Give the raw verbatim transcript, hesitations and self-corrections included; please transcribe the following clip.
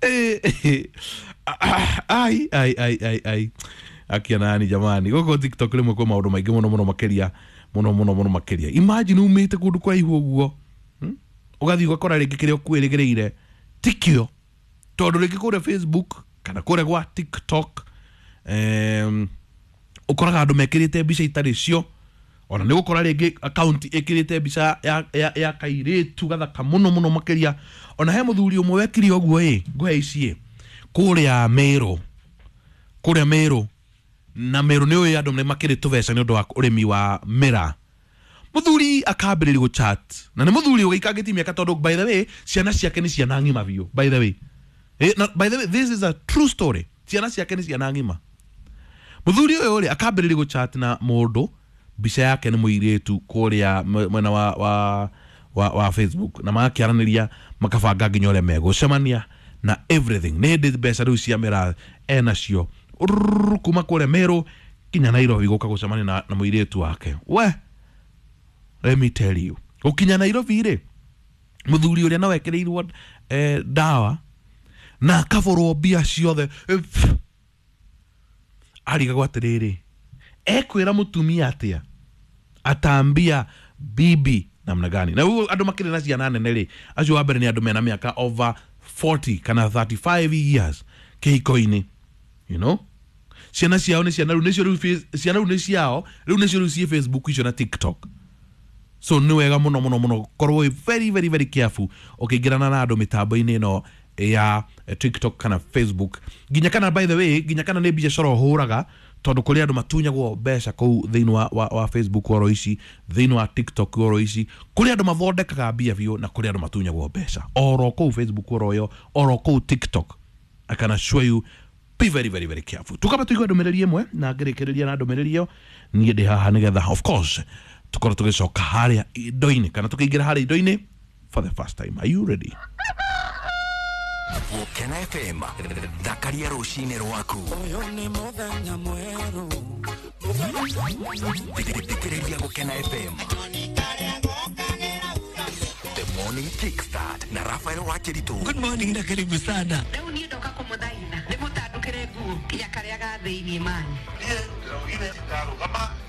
Eh, ai ai ai ai ai, akia nani jamani, gũkũ TikTok rĩmwe kwĩ maũndũ maingĩ mũno mũno makĩria, mũno mũno mũno makĩria. Imagine umĩte kũndũ kũraihu ũguo, hmm? Ũgathiĩ ũgakora rĩngĩ kĩrĩa ũkwĩrĩgĩrĩire tikĩo, tondũ rĩngĩ kũrĩa Facebook kana kũrĩa gwa TikTok, em, ũkoraga andũ mekĩrĩte mbica itarĩ cio. Ona nĩ gũkora rĩngĩ account ĩkĩrĩte mbica ya, ya, ya kairĩtu gathaka mũno mũno makĩria. Ona he mũthuri ũmwe wekire ũguo ĩ, ngũhe ici ĩ, kũrĩa Meru, kũrĩa Meru, na Meru nĩ ũĩ andũ nĩ makĩrĩ tũbeca nĩ ũndũ wa ũrĩmi wa mĩraa. Mũthuri akambĩrĩria gũchat na nĩ mũthuri ũgĩikangĩtie mĩaka, tondũ by the way ciana ciake nĩ ciana ng'ima biũ. By the way, eh, na, by the way, this is a true story. Ciana ciake nĩ ciana ng'ima. Mũthuri ũyũ rĩ, akambĩrĩria gũchat na mũndũ mbica yake nĩ mũirĩtu kũrĩa mwena wa, wa, wa, wa Facebook, na magakĩaranĩria, makabanga nginya ũrĩa megũcemania na everything. Nĩ hĩndĩ mbeca rĩu cia mĩraa enacio. Rrrr, kuma kũrĩa Meru nginya Nairobi gũka gũcemania na, na mũirĩtu wake. We, let me tell you, gũkinya Nairobi rĩ, mũthuri ũrĩa no ekĩrĩirwo eh, ndawa na akaborwo mbia ciothe. Eh, pff. Arigagwo atĩrĩrĩ, ekwĩra mũtumia atĩa, atambia bibi namna gani? Na rĩu andũ makĩrĩ na ciana nene rĩ, acio wa mbere nĩ andũ mena mĩaka over forty kana thirty-five years kĩhiko-inĩ, you know ciana ciao nĩ ciana rĩu nĩcio rĩu face- ciana rĩu nĩ ciao rĩu nĩcio rĩu ciĩ Facebook icio na TikTok. So nĩ wega mũno mũno mũno korwo wĩ very very very careful ũkĩingĩrana na andũ mĩtambo-inĩ ĩno ya eh, TikTok kana Facebook, nginya kana, by the way, nginya kana nĩ biacara ũhũraga, tondũ kũrĩ andũ matunyagwo mbeca kũu thĩinĩ wa, wa, wa Facebook oro ici, thĩinĩ wa TikTok oro ici. Kũrĩ andũ mathondekaga mbia biũ na kũrĩ andũ matunyagwo mbeca oro kũu Facebook oro ĩyo, oro kũu TikTok. I can assure you, be very very very careful. Tukaba tuigue ndũmĩrĩri ĩmwe na ngĩrĩkĩrĩria na ndũmĩrĩri ĩyo. Niĩ ndĩ haha nĩgetha of course tukorwo tũgĩcoka harĩa indo-inĩ kana tũkĩingĩra harĩa indo-inĩ for the first time. Are you ready? Gũkena F M, thakaria rũcinĩ rwaku. Ũyũ nĩ mũthenya mwerũ. Thikĩrĩria Gũkena F M, The Morning Kickstart na Rafael Wakiritu. Good morning na karibu sana. Rĩu niĩ ndoka kũmũthaitha ndĩmũtandũkĩre nguo nginya karĩa ga thĩiniĩ mani. Niĩ ndĩraugire ndarũgama.